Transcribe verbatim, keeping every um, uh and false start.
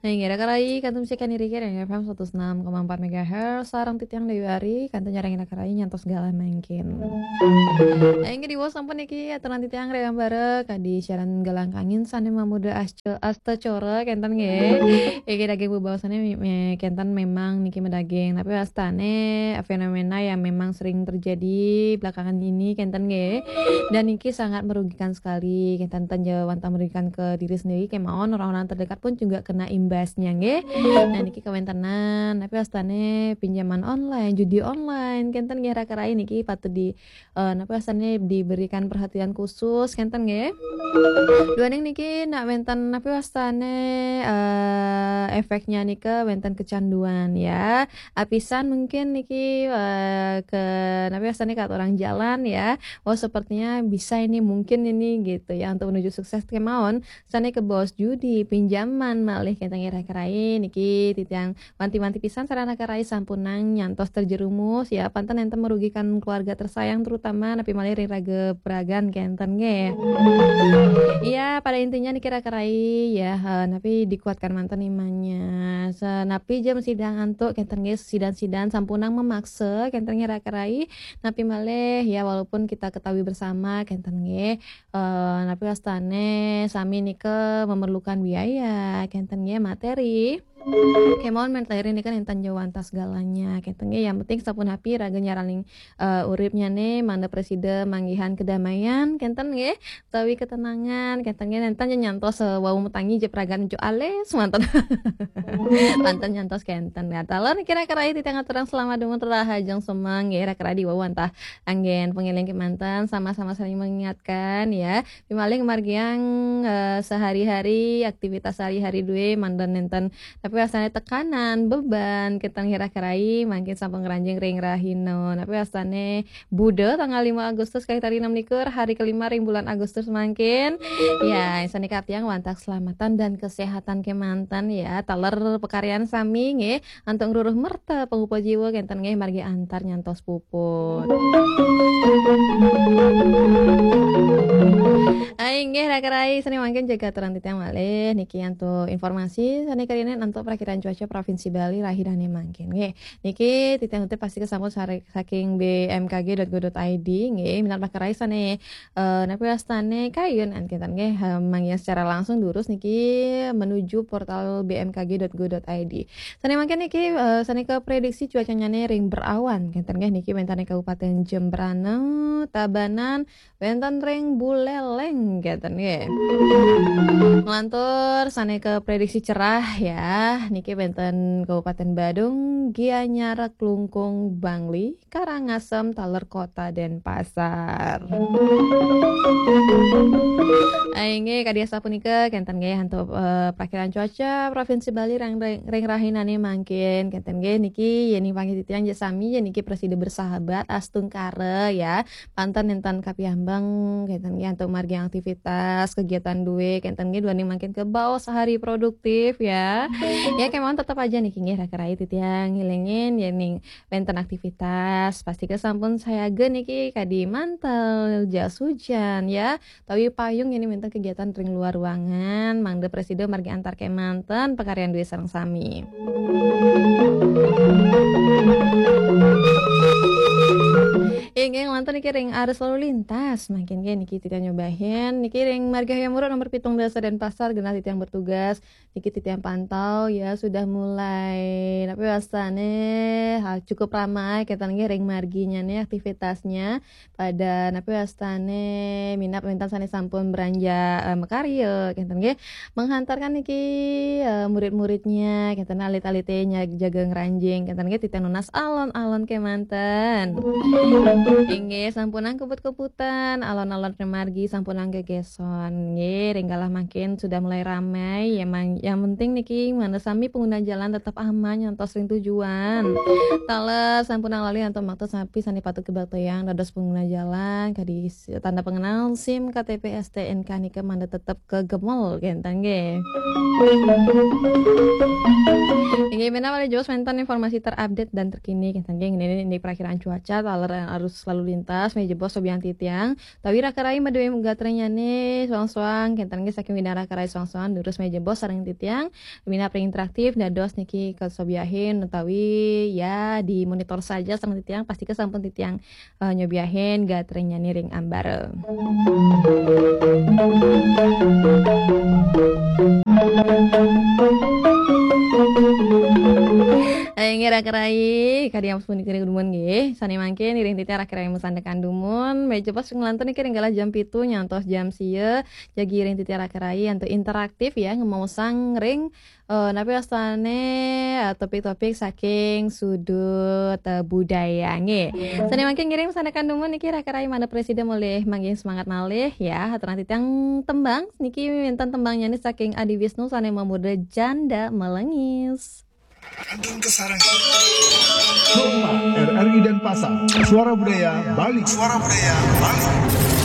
Inggih, Raka Rai, kantun siakan iriki F M seratus enam koma empat megahertz, sareng titiang Dewi Ari, kantun nyarengin Raka Rai nyantos galah mangkin. Inggih, diwaos sampun niki aturan titiang Rewambara kadi siaran galang kangin sane mamuda asca-, astacora kenten nggih. Inggih, daging bebaosane me-, me-, kenten memang niki medaging, tapi wastane fenomena yang memang sering terjadi belakangan ini kenten nggih. Dan niki sangat merugikan sekali, kenten ten ja wantah merugikan ke diri sendiri kemawon orang-orang terdekat pun juga kena imbasnya nggih. Nah, niki kawentenan, tapi wastane pinjaman online, judi online, kenten nggih Raka Rai niki patut di, eh, napa wastane diberikan perhatian khusus kenten nggih. Duaning niki nak wenten napa wastane, eh, efeknya nika wenten kecanduan ya. Apisan mungkin niki, eh, ke napa wastane kata orang jalan ya. Oh, sepertinya bisa ini, mungkin ini gitu ya untuk menuju sukses kemawon. Sane kebaos judi, pinjaman malih kenten nggih Raka Rai niki titiang wanti-wanti pisan sarana Raka Rai sampunang nyantos terjerumus ya, panten enten merugikan keluarga tersayang terutama napi malih ring raga peragan kenten nggih. Iya, pada intinya niki Raka Rai ya, eh, napi dikuatkan manten imannya. Sa-, napi jam sidang antuk kenten nggih, sidan-sidan sampunang memaksa kenten nggih Raka Rai. Napi malih ya, walaupun kita ketahui bersama kenten nggih, eh, napi wastane sami nika memerlukan biaya kenten nggih, materi. Kemawon materi nika nenten ja wantah segalanya kenten nggih. Yang penting sapunapi raga nyaraning, eh, uripnyane mangda prasida manggihan kedamaian kenten nggih, utawi ketenangan kenten nggih. Nenten ja nyantos, eh, wau matangi ja peragan jo alis manten. Manten nyantos kenten. Nah, taler niki Raka Rai titiang aturang selamat dumun rahajeng semeng nggih, Raka Rai diwau wantah anggen pangeling kemanten, sama-sama saling mengingatkan ya. Pimalih margiang, eh, sehari-hari, aktivitas sehari-hari due manten nenten. Tapi wastane tekanan, beban kenten nggih Raka Rai mangkin sampun ngranjing ring rahina. Tapi wastane Buda tanggal lima Agustus kalih tali enam likur, hari kelima ring bulan Agustus mangkin. Ya, sane kaptiang wantah keselamatan dan kesehatan kemanten ya. Taler pakaryan sami nggih, antuk ngruruh merta pangupa jiwa kenten nggih, margi antar nyantos puput. Ai nggih, Raka Rai, sane mangkin jaga aturan titiang malih niki antuk informasi sane karina antuk prakiraan cuaca Provinsi Bali rahina mangkin nggih. Niki titiang pasti kesampun sare-, saking B M K G dot go dot I D nggih, minat Raka Rai sane, eh, napi wastane kayun an kenten nggih, eh, manggihan secara langsung durus niki menuju portal B M K G dot go dot I D. Sane mangkin niki, eh, sane ke prediksi cuacanyane ring berawan kenten nggih, niki wenten Kabupaten Jembrana, Tabanan, wenten ring Buleleng kenten nggih. Nglantur sane ke prediksi cerah ya, niki wenten Kabupaten Badung, Gianyar, Klungkung, Bangli, Karangasem, taler Kota Denpasar. Inggih, kadi asapunika kenten nggih antuk, eh, prakiraan cuaca Provinsi Bali ring, ring, ring rahinane mangkin kenten nggih. Niki yening panggi titiang ja sami, yen niki prasida bersahabat astungkara ya. Panten nenten kapiambeng kenten nggih antuk margi aktivitas kegiatan due kenten nggih, duaning mangkin kebaos hari produktif ya. Ya kemawon tetep aja niki nggih Raka Rai titiang ngilingin yening wenten aktivitas, pasti kesampun sayaga niki kadi mantel, jas hujan ya, utawi payung yen wenten kegiatan ring luar ruangan, mangda prasida margi antar kemanten pakaryan due sareng sami. Inggih, nglantur niki ring arus lalu lintas, mangkin nggih niki titiang nyobahin niki ring Marga Hayam Wuruk nomor pitung dasa Denpasar, genah titiang bertugas. Niki titiang pantau ya, sudah mulai, napi wastane, ha, cukup ramai kenten nggih ring marginyane aktivitasnya. Pada napi wastane minat wenten sane sampun beranja, eh, makarya kenten nggih. Menghantarkan niki, eh, murid-muridnya kenten, alit-alite nya-, jaga ngranjing kenten nggih, titiang nunas alon-alon kemanten. Inggih, sampunang kebut-kebutan, alon-alon ring margi sampunang gegeson. Nggih, ring galah mangkin sudah mulai ramai. Ya, mang-, yang penting niki, mangda sami pengguna jalan tetap aman nyantos ring tujuan. Taler sampunang lali antuk makta napi sane patut kabaktayang dados pengguna jalan, kadi s-, tanda pengenal, SIM, K T P, S T N K nika mangda tetap kagemel kenten nggih. Inggih, menawi malih jebos wenten informasi terupdate dan terkini kenten nggih, ini, ini perakiraan cuaca, taler arus lalu lintas, mejebos sobian titiang. Tawi raka rai madué gatrényané soang-soang, kénten nggih saking widang raka rai soang-soang, durus mejebos sareng titiang. Minab ring interaktif, dados niki kasobiahin utawi ya dimonitor saja sareng titiang, pastika sampun titiang eh, nyobiahin gatrényané ring ambara. Eh, inggih raka rai, kadi ampun niki dumun nggih. Sané mangkin iring titiang raka rai masandekan dumun, mejebos nglantun niki ring galah jam pitu nyantos jam sia, jagi iring titiang raka rai antuk interaktif ya, ngemaosang ring eh, napi wastané eh, topik-topik saking sudut eh, budaya nggih. Sané mangkin ngiring masandekan dumun niki raka rai manah presida malih manggih semangat malih ya. Aturang titiang tembang niki wénten tembangnyané saking Adi Wisnu sané mamurda Janda Melengis. Kantun Kasarenggan. Kompas, R R I Denpasar, Suara Budaya Bali. Suara Budaya Bali.